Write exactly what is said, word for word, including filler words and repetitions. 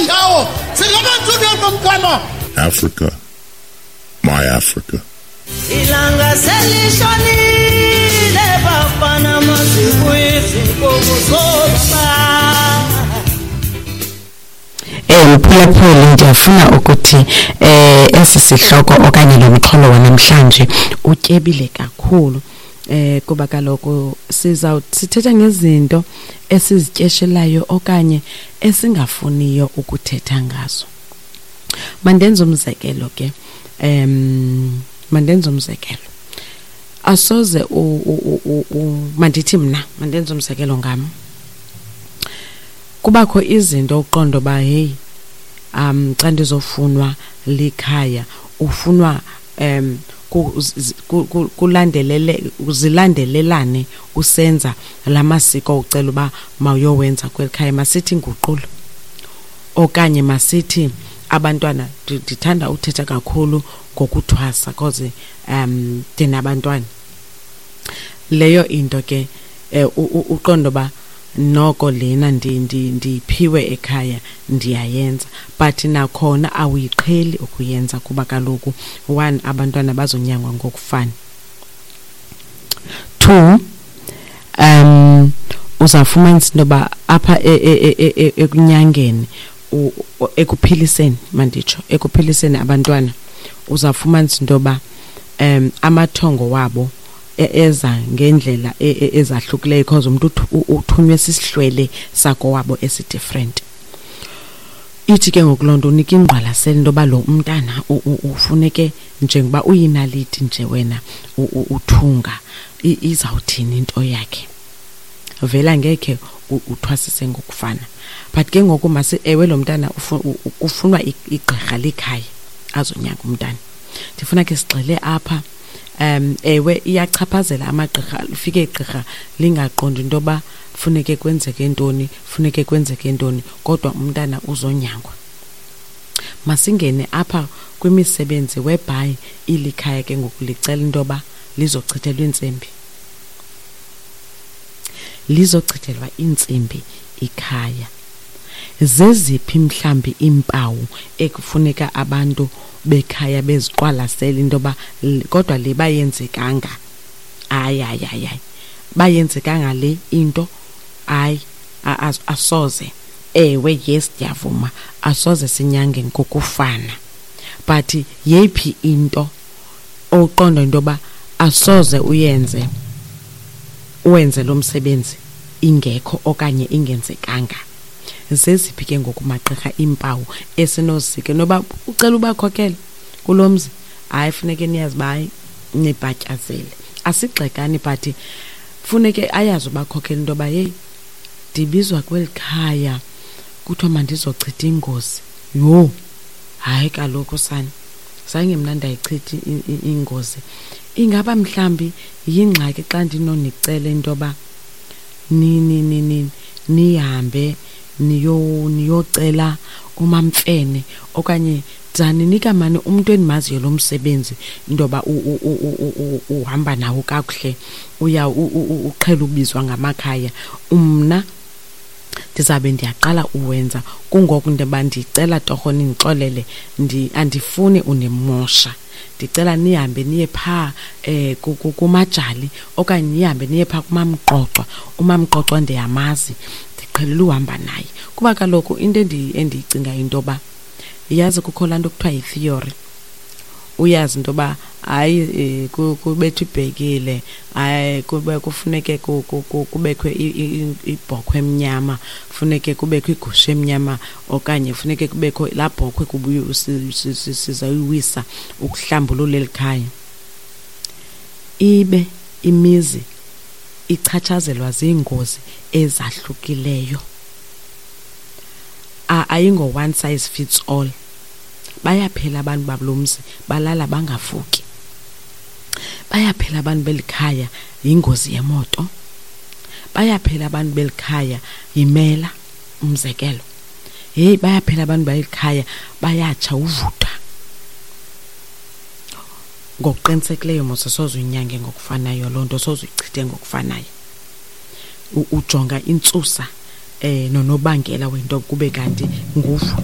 ndawo singabantu nomntwana. Africa, my Africa. Ilanga selishonile bafana masibuyizinkomo zobaba. Eh mphulaphuli, ndiyafuna ukuthi eh esi sihloko okanye lo mxholo wanamhlanje utyebile kakhulu, eh kuba kaloku siza sithetha ngezinto esizityeshelayo okanye esingafuniyo ukuthetha ngazo. Mandenze umzekelo ke, em mandenze umzekelo asoze u, u, u, u mandithi mna mandenze umzekelo ngam. Kubakho izinto uqondo ba hey um xa ndizofunwa likhaya ufunwa um kulandelele uzilandelelane usenza lamasiko ucela uba mawuyowenza kwelikhaya, masithi inguqulo okanye masithi abantwana. Ndithanda uthetha kakhulu ngokuthwasa cause um ndinabantwana. Leyo into ke uqondo ba noko lena ndiphiwe ekhaya ndiyayenza, but nakhona awuyiqheli ukuyenza kuba kaloku one, abantwana bazonyangwa ngokufana, two, um uzafumanisa into yoba apha ekunyangeni ekuphiliseni, manditsho ekuphiliseni abantwana, uzafumanisa into yoba um amathongo wabo eza ngendlela ezahlukileyo because umuntu uthunywe sisihlwele sakowabo esi-different. Ithi ke ngoku loo nto unika ingqwalasela into yoba lo umntana ufuneke njengoba uyinaliti nje wena uthunga, izawuthini into yakhe, vele angekhe uthwasise ngokufana. But ke ngoku masi ewe lo mntana kufunwa igqirha likhaya azonyanga umntana. Ndifuna ke sigxile apha. Um ewe iyachaphazela amagqirha, lifike igqirha lingaqondi into yoba funeke kwenzeke ntoni, funeke kwenzeke ntoni, kodwa umntana uzonyangwa. Masingene apha kwimisebenzi whereby ilikhaya ke ngoku licela into yoba lizochithelwa intsimbi, lizochithelwa intsimbi ikhaya. Zeziphi mhlambi iimpawu ekufuneka abantu bekhaya beziqwalasele into yoba kodwa le bayenzekanga, hayi hayi hayi hayi bayenzekanga le into, hayi asoze, ewe yes ndiyavuma asoze sinyange ngokufana, but yeyiphi into oqonda into yoba asoze uyenze uwenze lo msebenzi ingekho okanye ingenzekanga? Zeziphi ke ngoku magqirha iimpawu esinozike noba ucela ubakhokele kulo mzi, hayi funeke niyazi uba hayi nibhatyazele, asigxekani but funeke ayazi ubakhokela into yoba heyi ndibizwa kweli khaya kuthiwa mandizochitha ingozi. Yho hayi kaloku sana, zange mna ndayichitha ingozi. Ingaba mhlambi yingxaki xa ndinonicela into yoba ni nihambe niyo niyocela umamfene okanye ndizaninika mani umntu endimaziyo lo msebenzi into yoba uhamba nawo kakuhle, uya uqhela ubizwa ngamakhaya, mna ndizabe ndiyaqala uwenza. Kungoku ndoba ndicela torho nindixolele, andifuni unimosha, ndicela nihambe niye phaa eh kumajali okanye nihambe niye phaa kumamqoqwa. Umamqoqwa ndiyamazi, ndiqhelile uhamba naye. Kuba kaloku into endiyicingayo into yoba yazi kukho laa nto kuthiwa yi-theory, uyazi into yoba hayi kubethwa ibhekile, hayi kube kufuneke kubekho ibhokhwe emnyama, funeke kubekho igusha emnyama okanye funeke kubekho laa bhokhwe sizayiwisa ukuhlambulula eli khaya. Ibe imizi ichatshazelwa ziingozi ezahlukileyo, ayingo one size fits all. Bayaphela abantu balo mzi balala bangavuki, bayaphela abantu belikhaya yingozi yemoto, bayaphela abantu belikhaya yimela umzekelo, heyi bayaphela abantu belikhaya bayatsha uvutha. Ngokuqinisekileyo mos soze uyinyange ngokufanayo loo nto, soze uyichithe ngokufanayo. Ujonga intsusa eh nonobangela wento kube kanti nguvutha.